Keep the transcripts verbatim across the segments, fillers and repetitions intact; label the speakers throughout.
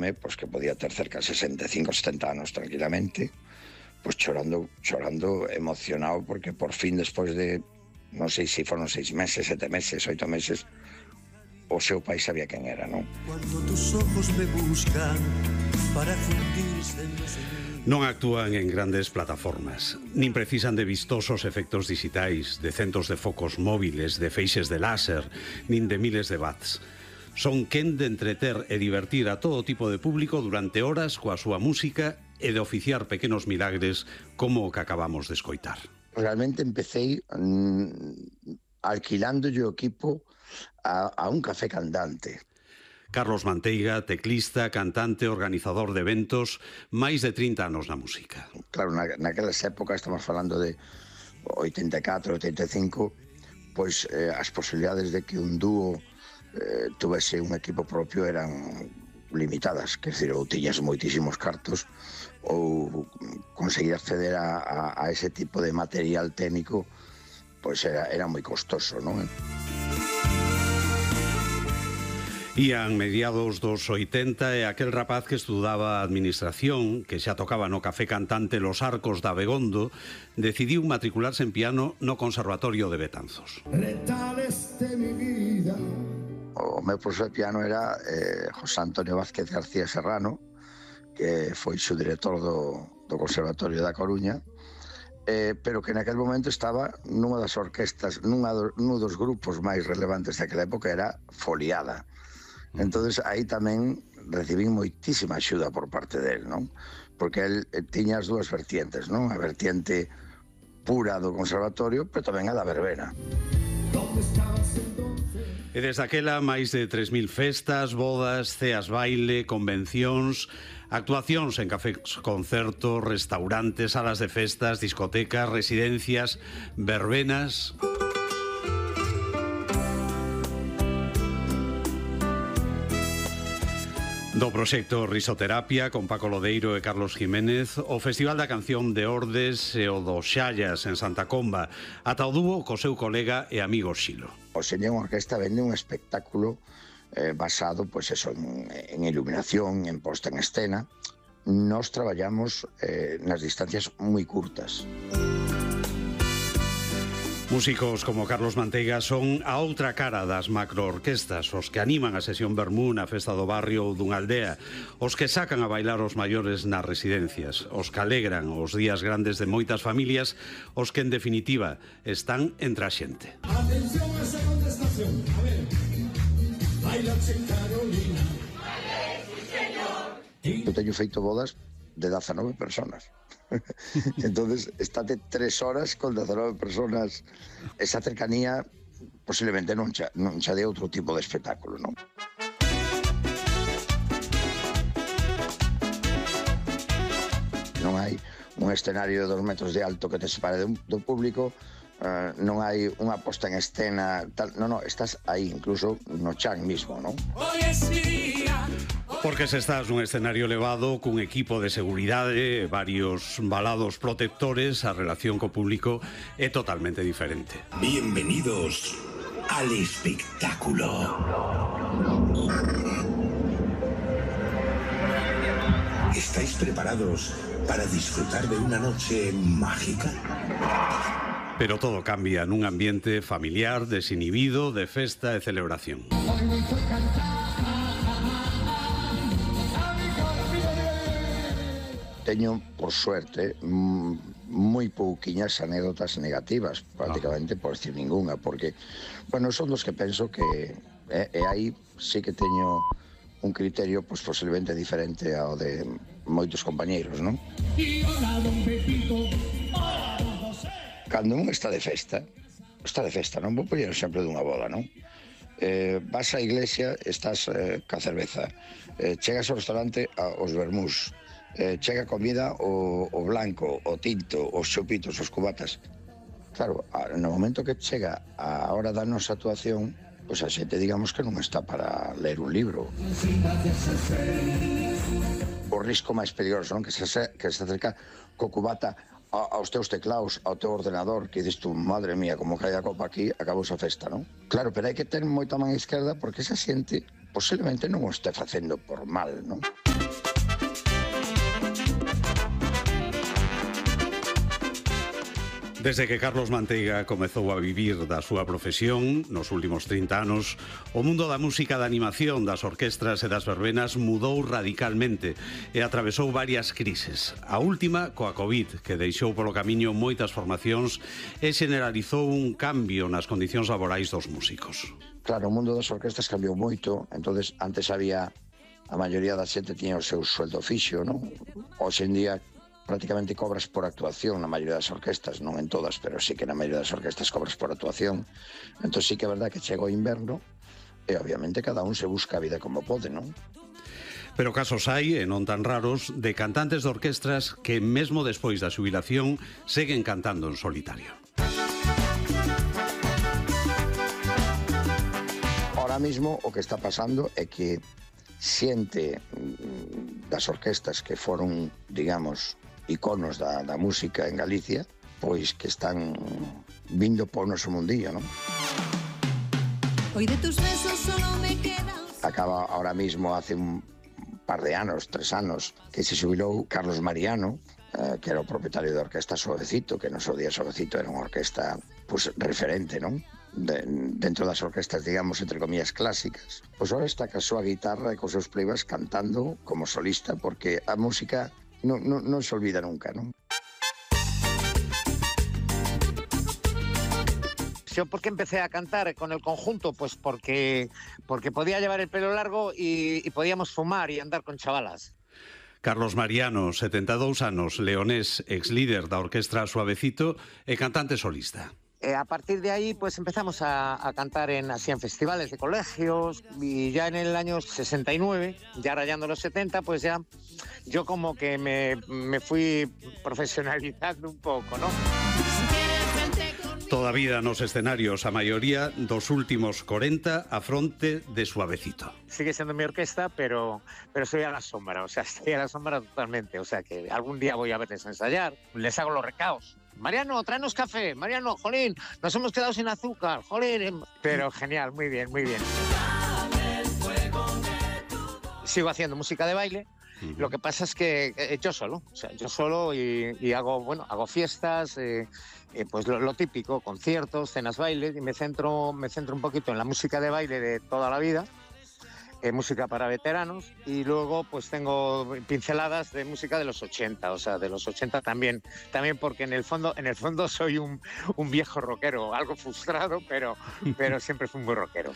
Speaker 1: home, pois que podía ter cerca de sesenta e cinco, setenta anos tranquilamente, pois chorando, chorando emocionado, porque por fin, despois de, non sei se foron seis meses, sete meses, oito meses, o seu pai sabía quen era, non?
Speaker 2: Cuando tus ojos me buscan para fundirse en los...
Speaker 3: Non actúan en grandes plataformas, nin precisan de vistosos efectos digitais, de centos de focos móviles, de feixes de láser, nin de miles de watts. Son quen de entreter e divertir a todo tipo de público durante horas coa súa música e de oficiar pequenos milagres como o que acabamos de escoitar.
Speaker 1: Realmente empecé mmm, alquilándolle o equipo a, a un café cantante.
Speaker 3: Carlos Manteiga, teclista, cantante, organizador de eventos, máis de trinta anos na música.
Speaker 1: Claro, na, naquelas épocas, estamos falando de oitenta e catro, oitenta e cinco, pois eh, as posibilidades de que un dúo eh, tuvese un equipo propio eran limitadas, quer dizer, ou tiñas moitísimos cartos ou conseguir acceder a, a, a ese tipo de material técnico pois era, era moi costoso, non?
Speaker 3: Ían mediados dos oitenta e aquel rapaz que estudaba administración, que xa tocaba no café cantante Los Arcos de Abegondo, decidiu matricularse en piano no Conservatorio de Betanzos.
Speaker 1: O meu profesor de piano era eh, José Antonio Vázquez García Serrano, que foi o director do, do Conservatorio da Coruña, eh, pero que naquel momento estaba nunha das orquestas, nunha do, nun dos grupos máis relevantes daquela época, era Foliada. Entonces aí tamén recibín moitísima axuda por parte del, non? Porque el tiña as dúas vertientes, non? A vertiente pura do conservatorio, pero tamén a da verbena.
Speaker 3: E desde aquela máis de tres mil festas, bodas, ceas baile, convencións, actuacións en cafés concertos, restaurantes, salas de festas, discotecas, residencias, verbenas... Do proxecto Risoterapia con Paco Lodeiro e Carlos Jiménez, o Festival da Canción de Ordes e o do Xallas en Santa Comba, ata o dúo co seu colega e amigo Xilo.
Speaker 1: O Señor Orquesta vende un espectáculo eh, basado pois eso, en, en iluminación, en posta en escena. Nos traballamos eh, nas distancias moi curtas.
Speaker 3: Músicos como Carlos Manteiga son a outra cara das macroorquestas, os que animan a sesión vermú na festa do barrio ou dunha aldea, os que sacan a bailar os maiores nas residencias, os que alegran os días grandes de moitas familias, os que en definitiva están entre a xente.
Speaker 4: Atención a segunda estación, a ver, baila en Carolina.
Speaker 1: Eu teño feito bodas de dezanove personas. Entonces, estate tres horas con dezanove personas. Esa cercanía posiblemente non xa, non xa de outro tipo de espectáculo, non? Non hai un escenario de dos metros de alto que te separe do, do público, uh, non hai unha posta en escena, tal, non, non, estás aí, incluso no chan mismo, non?
Speaker 4: Hoy es mi día.
Speaker 3: Porque se estás nun escenario elevado cun equipo de seguridade, varios valados protectores, a relación co público é totalmente diferente.
Speaker 5: Bienvenidos al espectáculo. ¿Estáis preparados para disfrutar de una noche mágica?
Speaker 3: Pero todo cambia nun ambiente familiar, desinhibido, de festa e celebración.
Speaker 1: Teño, por suerte, moi pouquiñas anécdotas negativas, prácticamente, por decir ninguna, porque, bueno, son dos que penso que, e, e aí sí que teño un criterio, pois, posiblemente diferente ao de moitos compañeiros, non? Cando un está de festa, está de festa, non? Vou poñer o exemplo dunha boda, non? Eh, vas á iglesia, estás eh, ca cerveza, eh, chegas ao restaurante aos vermús, Eh, chega comida o, o blanco, o tinto, os chopitos, os cubatas. Claro, a, no momento que chega a hora da nosa actuación, pois a xente digamos que non está para ler un libro. O risco máis peligroso, non? Que se, que se acerca co cubata a, aos teus teclaos, ao teu ordenador, que dices tú, madre mía, como cae a copa aquí, acabou a festa, non? Claro, pero hai que ter moita man izquierda porque esa xente posiblemente non o este facendo por mal, non?
Speaker 3: Desde que Carlos Manteiga comezou a vivir da súa profesión nos últimos trinta anos, o mundo da música de animación, das orquestras e das verbenas mudou radicalmente e atravesou varias crises. A última coa COVID, que deixou polo camiño moitas formacións e generalizou un cambio nas condicións laborais dos músicos.
Speaker 1: Claro, o mundo das orquestas cambiou moito, entonces antes había, a maioría da xente tiña o seu sueldo fixo, non? Hoxe en día prácticamente cobras por actuación na maioría das orquestas, non en todas, pero sí que na maioría das orquestas cobras por actuación. Entón sí que é verdad que chega o inverno e obviamente cada un se busca a vida como pode, non?
Speaker 3: Pero casos hai, e non tan raros, de cantantes de orquestras que mesmo despois da xubilación seguen cantando en solitario.
Speaker 1: Ahora mismo o que está pasando é que xente das orquestas que foron, digamos, iconos da, da música en Galicia, pois que están vindo por noso mundillo, non? Hoy de tus besos solo me queda... Acaba ahora mismo, hace un par de anos, tres anos, que se xubilou Carlos Mariano, eh, que era o propietario da orquesta Suavecito, que no seu día Suavecito era unha orquesta pues, referente, non? De, dentro das orquestas, digamos, entre comillas, clásicas. Pois ahora está ca súa guitarra e cos seus plebas cantando como solista, porque a música non, non, non se olvida nunca, non?
Speaker 6: Yo, ¿por qué empecé a cantar con el conjunto? Pues porque, porque podía llevar el pelo largo y, y podíamos fumar y andar con chavalas.
Speaker 3: Carlos Mariano, setenta e dous anos, leonés, ex líder da orquestra Suavecito e cantante solista.
Speaker 6: Eh, a partir de ahí pues empezamos a, a cantar en, así en festivales de colegios y ya en el año sesenta y nueve, ya rayando los setenta, pues ya yo como que me, me fui profesionalizando un poco, ¿no?
Speaker 3: Toda a vida nos escenarios, a maioría dos últimos corenta a fronte de Suavecito.
Speaker 6: Sigue siendo mi orquesta, pero, pero soy a la sombra, o sea, estoy a la sombra totalmente, o sea que algún día voy a verles ensayar, les hago los recaos. Mariano, tráenos café. Mariano, jolín, nos hemos quedado sin azúcar, jolín. Pero genial, muy bien, muy bien. Sigo haciendo música de baile. Uh-huh. Lo que pasa es que eh, yo solo, o sea, yo solo y, y hago, bueno, hago fiestas, eh, eh, pues lo, lo típico, conciertos, cenas, bailes, y me centro, me centro un poquito en la música de baile de toda la vida. Eh, música para veteranos y luego pues tengo pinceladas de música de los ochenta, o sea, de los ochenta también, también porque en el fondo, en el fondo soy un, un viejo rockero, algo frustrado, pero, pero siempre fui un buen rockero.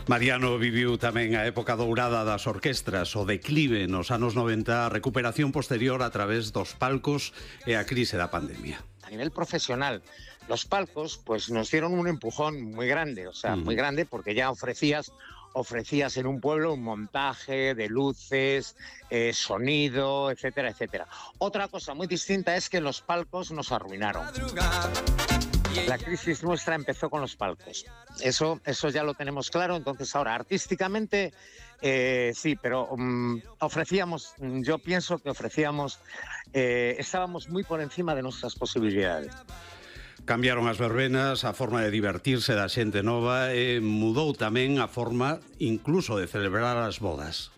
Speaker 3: Mariano viviu tamén a época dourada das orquestras, o declive nos anos noventa, a recuperación posterior a través dos palcos e a crise da pandemia.
Speaker 6: A nivel profesional, los palcos pues nos dieron un empujón muy grande, o sea, mm. muy grande porque ya ofrecías ofrecías en un pueblo un montaje de luces, eh, sonido, etcétera, etcétera. Otra cosa muy distinta es que los palcos nos arruinaron. La crisis nuestra empezó con los palcos. Eso, eso ya lo tenemos claro. Entonces ahora, artísticamente, eh, sí, pero um, ofrecíamos, yo pienso que ofrecíamos, eh, estábamos muy por encima de nuestras posibilidades.
Speaker 3: Cambiaron as verbenas, a forma de divertirse da xente nova e mudou tamén a forma incluso de celebrar as bodas.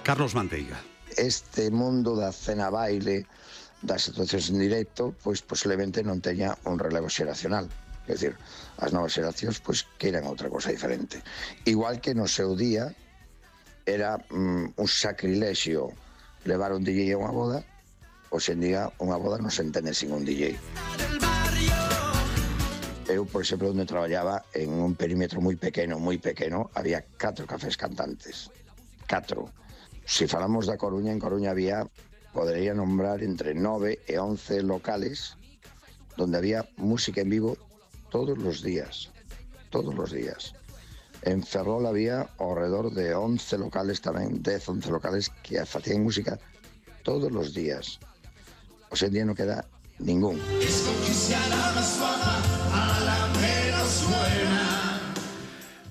Speaker 3: Carlos Manteiga.
Speaker 1: Este mundo da cena baile, das situacións en directo, pois posiblemente non teña un relevo xeracional. É dicir, as novas xeracións pois queiran outra cosa diferente. Igual que no seu día era mm, un sacrilexio levar un D J a unha boda, hoxe en día unha boda non se entende sin un D J. Eu, por exemplo, onde traballaba en un perímetro moi pequeno, moi pequeno, había catro cafés cantantes. Catro. Si falamos da Coruña, en Coruña había, podría nombrar entre nove e once locales donde había música en vivo todos los días, todos los días. En Ferrol había alrededor de once locales tamén, dez, once locales que facían música todos los días. Hoxe en día non queda ningún.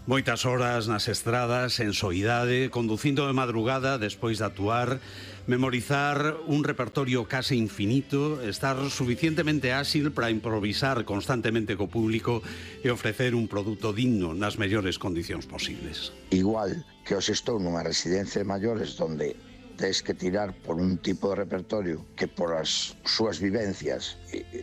Speaker 3: Moitas horas nas estradas, en soidade, conducindo de madrugada despois de actuar, memorizar un repertorio case infinito, estar suficientemente áxil para improvisar constantemente co público e ofrecer un produto digno nas mellores condicións posibles.
Speaker 1: Igual que os estou nunha residencia de maiores donde tens que tirar por un tipo de repertorio que por as súas vivencias